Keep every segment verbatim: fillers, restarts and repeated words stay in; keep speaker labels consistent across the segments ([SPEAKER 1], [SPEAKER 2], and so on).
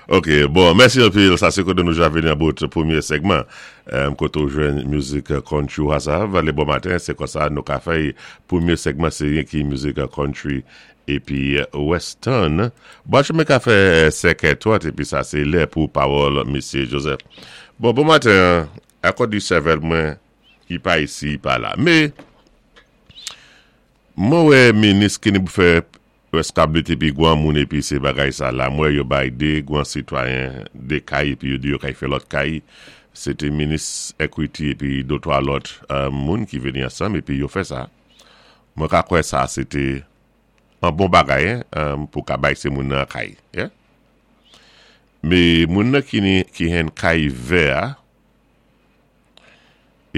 [SPEAKER 1] Ok, bon, mèsi anpil. Sa sé koté nou ja vini an bout pwémyé segman. Um, koté ou jwenn mizik country ou sa. Valé bon maten, sé kon sa nou ka fè pwémyé segman sé ki mizik country épi western. Bon, mwen ka fè sèk è épi sa sé lè pou pawòl Mesye Joseph. Bon, bon maten, akòz di sèvèl mwen ki pa isi, pa la. Mé, mwen wè minis ki ni pou fè reskabilité épi gwan moun épi sé bagay sa la. Mwen yo bay dé gwan sitwayen dé kay épi yo di yo kay fè lòt kay. Sé té minis equity épi dé twa lòt euh, moun ki vini ansanm épi yo fè sa. Mwen ka kwè sa sé té an bon bagay hein, um, pou ka bay sé moun nan kay. Yeah? Mé moun nan ki ni ki hen kay vè a,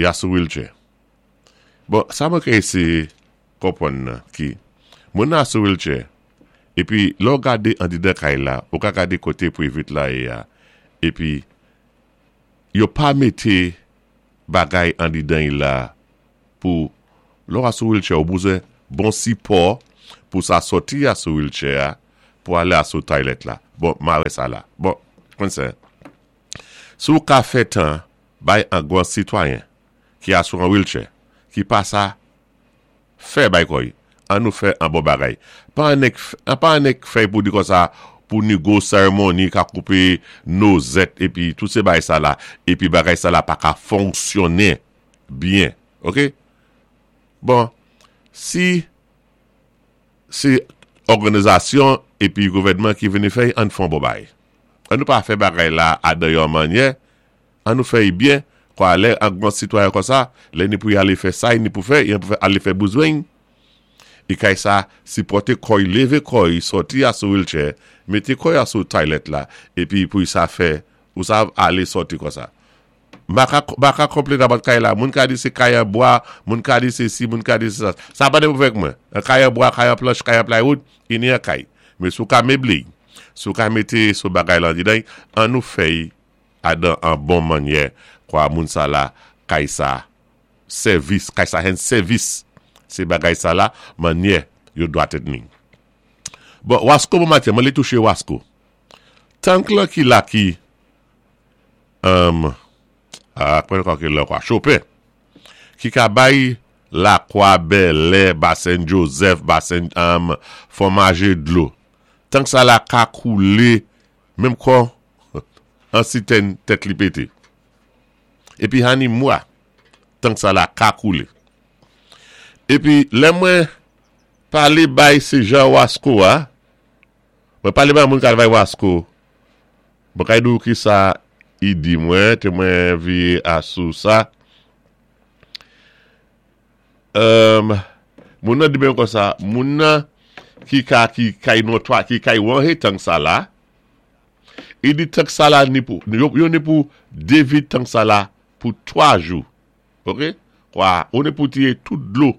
[SPEAKER 1] ya sou wheelchair. Bon, sa mwen ka éséyé konpwann nan ki moun nan sou wheelchair épi lè ou gadé andidan kay la, ou ka gadé koté private la yé a, épi yo pa mété bagay andidan yi la pou lè ou sou wheelchair ou bezwen bon sipò pou sa sòti a sou wheelchair a, pou alé a sou toilet la. Bon, ma wè sa la. Bon, kon sa. Si ou ka fè tan bay an gwan sitwayen ki a sou an wheelchair, ki pa sa fè bay koy, an nou fè an bon bagay. Pa an ek, pa an ek fè pou di kon sa, pou ni go seremoni ka koupé nozèt épi tout sé bagay sa la, épi bagay sa la pa ka fonksyonné byen. Ok? Bon, si sé òganizasyon épi gouvèdman ki vini fè, an fon bon bagay. An nou pa fè bagay la a yon mannyè, an nou fè byen, kwa lè an gwan sitwayen kon sa, lè ni pou y alé fè sa, ni pou fè, y pou alé fè bouzwen. E kay sa, sipòté kò'y, lévé kò'y, sòti a sou wheelchair, mété kò'y a sou toilet la, épi pou sa fè, ou sa alé sòti kon sa. M pa ka konplen about kay la, moun ka di sé kay an bwa, moun ka di sé si, moun ka di sé sa. Sa pa de pou fèk mwen. Kay an bwa, kay an planch, kay an plywood, ini an kay. Mé si ou ka méblé, si ou ka mété sou bagay lan didan, an nou fè'y adan an bon mannyè, kwa moun sa la, kay sa, sèvis, kay sa hen sèvis. Sé bagay sa la, mannyè, yo dwa tni. Bon, Wasko bon maten, mwen lé touché Wasko. Tank la ki la ki, um, a, kwen kwa ki la kwa, Chopin, ki ka bay Lakwa, Bèlè, Basen Joseph, Basen um, Fòmaje dlo. Tank sa la ka koulé, menm kon, an sitèn tèt li pété. Épi hani mwa, tank sa la ka koulé. Épi, lè mwen palé bay sé jan Wasko a, mwen palé bay moun kal bay Wasko, mwen kay dou ki sa i di mwen, té mwen vi a sou sa. Um, moun nan di mwen kon sa, moun nan ki ka ki kay notwa, ki kay wanhe tank sa la, i di tank sa la ni pou, yo, yo ni pou devid tank sa la pou twa jou. Ok? Kwa, ou ni pou tiye tout dlo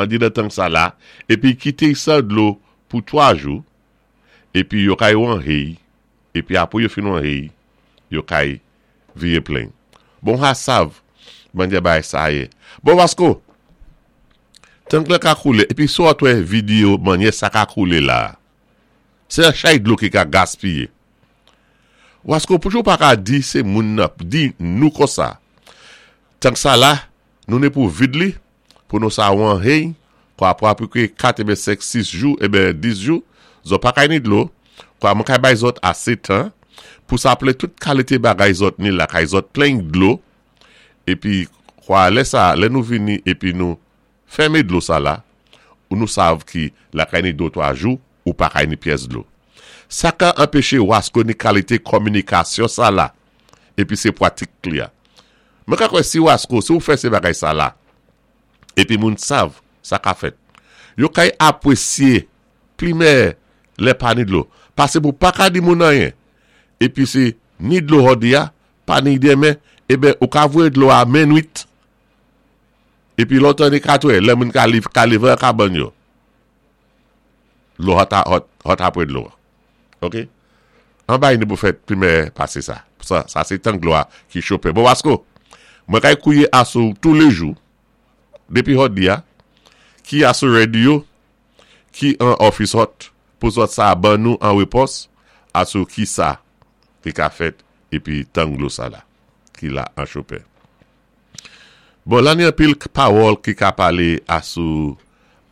[SPEAKER 1] an di nan tank sa la, épi kité sa dlo pou twa jou, épi yo kay wanhe, épi apwé yo fin wanhe, yo kay viye plen. Bon, ha sav, mannyè bay sa yé. Bon, Wasko, tank la ka koulé, épi sou atwè videyo mannyè sa ka koulé la, sé an chay dlo ki ka gaspiyé. Wasko, pou jou pa ka di sé moun nan, di nou kon sa. Tank sa la, nou né pou vid li, pou nou sa wan hey, kwa pou apwé kat ébé senk, sis jou, ébé dis jou, zòt pa kay ni dlo, kwa mwen kay bay zòt asé tan, pou sa plé tout kalité bagay zòt ni la kay zòt plen dlo, épi kwa lè sa, lè nou vini, épi nou fèmé dlo sa la, ou nou sav ki la kay ni dlo twa jou, ou pa kay ni pyès dlo. Sa ka anpéché Wasko ni kalité kominikasyon sa la, épi sé pwatik li a. Mwen ka kwè si Wasko, si ou fè sé bagay sa la, épi moun sav, sa ka fèt. Yo kay apwésyé, plimè, lè pa ni dlo. Pasé pou pa ka di moun anyen. Épi sé ni dlo jòdi a, pa ni denmen, ébé ou ka voyé dlo a minwit. Épi lontan ni katwè, lè moun ka liv, ka lévé an kabann yo. Dlo hot, hot, hot apwé dlo. Ok? An bay ni pou fèt plimè pasé sa. Sa, sa sé tank dlo a ki Chopin. Bon, Wasko, mwen kay kouye asou tou lé jou, dépi jòdi a, ki asou radio, ki an office hot, Pou zòt sa ban nou an wépons asou ki sa ki ka fèt épi tank dlo sa la ki la an Chopin. Bon, la ni anpil pawòl ki ka palé asou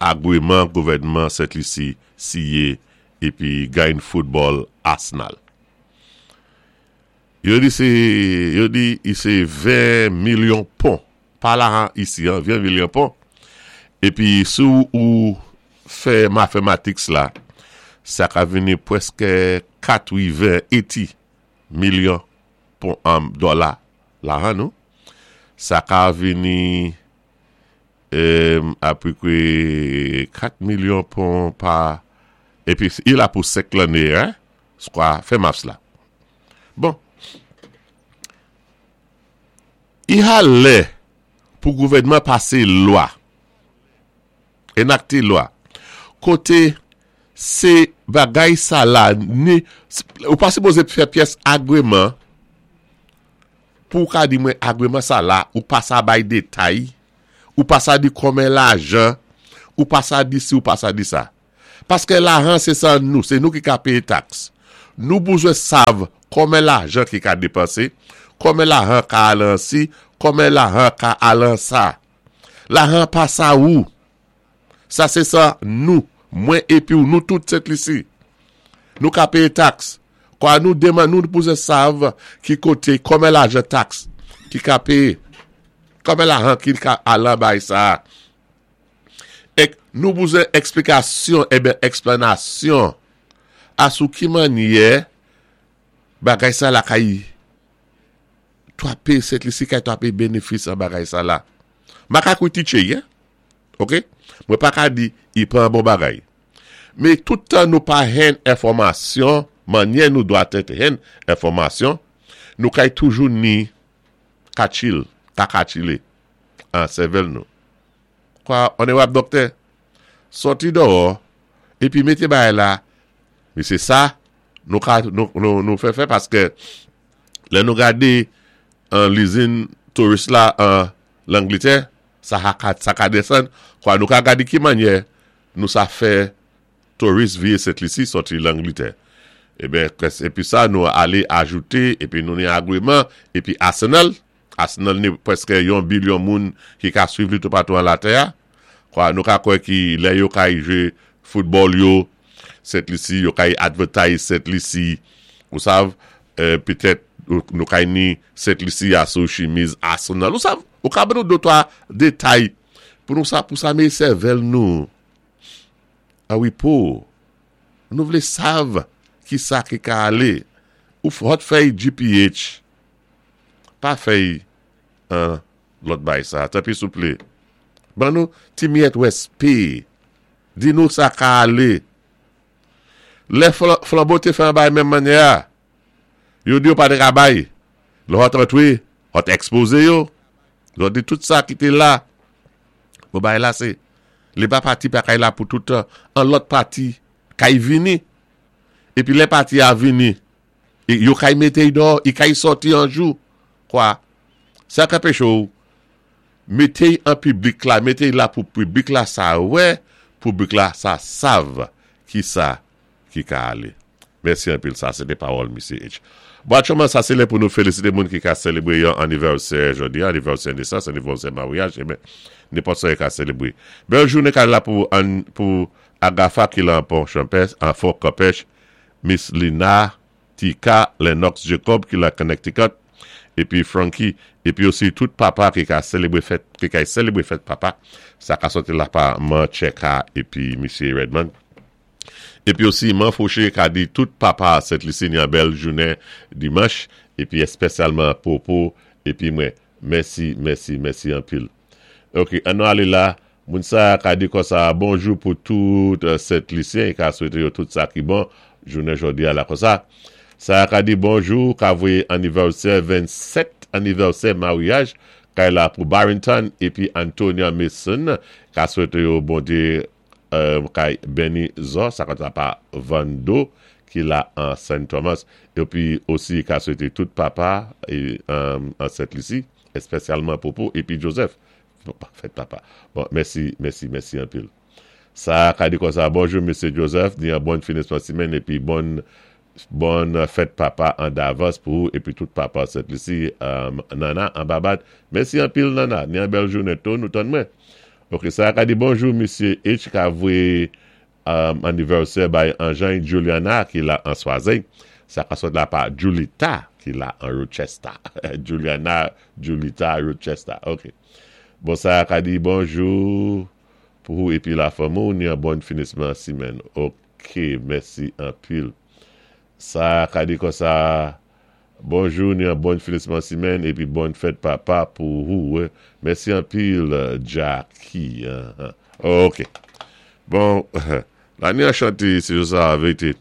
[SPEAKER 1] agwéman gouvèdman Sent Lisi siyé épi gayn foutbòl Arsenal. Yo di sé yo di i sé ven milyon pon pa la isi an, ven milyon pon. Épi si ou fè mathematics la, sa ka vini pwèské katwiven eighty milyon pon an dola la an nou. Sa ka vini euh, apepré kat milyon pon pa épi i la pou senk lanné, hein? Kwa, fè maths la. Bon. I ha lè pou gouvèdman pasé lwa, énakté lwa, koté sé bagay sa la, ni, ou pa sipozé fè pyès agwéman, pou ka di mwen agwéman sa la, ou pa sa bay détay, ou pa sa di konmen lajan, ou pa sa di si, ou pa sa di sa. Paské lajan sé sa nou, sé nou ki ka péyé tax. Nou bezwen sav konmen lajan ki ka dépansé, konmen lajan ka al an si, konmen lajan ka al an sa. Lajan pa sa ou. Sa sé sa nou, mwen épi ou nou tout Sent Lisi. Nou ka péyé tax. Kwa nou deman nou bezwen sav ki koté konmen lajan tax ki ka péyé. Konmen lajan ki ka al an bay sa. Ek nou bezwen eksplikasyon, eben eksplanasyon asou ki mannyè bagay sa la kay twapé Sent Lisi kay twapé bénéfis an bagay sa la. Ma ka kwitiché, hein? Ok? Mwen pa ka di i pran bon bagay. Mé tout tan nou pa hen enfòmasyon, mannyè nou dwa tèt hen enfòmasyon, nou kay toujou ni kachil, ka kachilé an sèvèl nou. Kwa, onorab doktè, sòti dèyò, épi mété bagay la, mé sé sa, nou ka, nou, nou, nou fè fè paské lè nou gadé an lizin touris la an Langlitè, sa ha ka, sa ka desann, kwa nou ka gadé ki mannyè nou sa fè touris vié Sent Lisi sòti Langlitè. Eben, épi sa nou alé ajouté, épi nou ni agwéman, épi Arsenal, Arsenal ni pwèské yon bilyon moun ki ka swiv li toupatou an latè a. Kwa nou ka kwè ki lè yo kay jwé foutbòl yo, Sent Lisi, yo kay advertise Sent Lisi, ou sav, euh, petèt nou kay ni Sent Lisi asou chimiz Arsenal, ou sav, ou ka ban nou de twa détay pou nou sa, pou sa mé sèvèl nou. A wi pou, nou vlé sav ki sa ki ka alé. Ou hot fèy G P H, pa fèy an lòt bay sa. Tanpwi souplé. Ban nou ti miyèt wèspé. Di nou sa ka alé. Lè Flambeau té fè an bay menm mannyè a. Yo di yo pa té ka bay. Lè hot antwé, hot expozé yo. Yo di tout sa ki té la. Bon bay la sé. Lè pa pati pa kay la pou tout an lòt pati kay vini. Épi lè pati a vini, yo kay mété dò, i kay sòti an jou. Kwa? Sa ka péché ou, mété an piblik la, mété la pou piblik la sa wè, piblik la sa sav ki sa ki ka alé. Mèsi anpil, sa sé té pawòl Misye H. Bon, aktyèlman, sa sé lè pou nou félisité moun ki ka sélébré yon anivèsè jòdi, anivèsè nesans, anivèsè maryaj, eben, nenpòt sa ka sélébré. Bèl jounen ka la pou, an, pou Agafa ki la an Pont Champêtre, an Fort Campêche, Miss Lina, Tika, Lennox Jacob ki la Connecticut, épi Frankie, épi osi tout papa ki ka sélébré fèt, ki ka sélébré fèt papa, sa ka sòti la pa Man Cheka épi Misye Redmond. Épi osi, Man Fouché ka di tout papa Sent Lisi yon bèl jounen dimanch, épi èspésyalman Popo, épi mwen, mèsi, mèsi, mèsi anpil. Ok, an nou alé la, moun sa ka di kon sa, bonjou pou tout Sent Lisyen, ka swété yo tout sa ki bon, jounen jòdi a la kon sa. Sa ka di bonjou, ka voyé anivèsè vennsèt, anivèsè maryaj, kay la pou Barrington, épi Antonia Mason, ka swété yo Bondyé euh, kay Benny Zo, sa ka pa Vando, ki la an Saint Thomas, épi osi ka swété tout papa é, an, an Sent Lisi, èspésyalman Popo, épi Joseph, fèt papa. Bon, mèsi, mèsi, mèsi anpil. Sa ka di konsa, bonjou Mesye Joseph, ni an bon finisman simenn épi bon bon fèt papa an davans pou épi tout papa Sent Lisi, um, Nana, an Babad. Mèsi anpil Nana, ni an bèl jounen tou, nou tann mwen. Ok, sa ka di bonjou Mesye H ka vwé um, anivèsè bay Anjan Juliana ki la an Swazey. Sa ka sot la pa Julita ki la an Rochester. Juliana, Julita, Rochester. Ok. Bon, sa ka di bonjou pou épi la fanmi, ni an bon finisman simenn. Ok, mèsi anpil. Sa ka di konsa, bonjou, ni an bon finisman simenn, épi bon fèt papa pou ou. Mèsi anpil, Jackie. Uh -huh. Ok. Bon, la ni an chanté, sé sa vérité.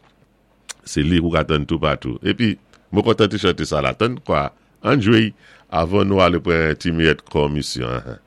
[SPEAKER 1] Sé li ou ka tann tout patou. Épi, mwen kontan ti chanté sa la. Tann kwa, an jwé, avan nou alé pran ti miyèt komisyon.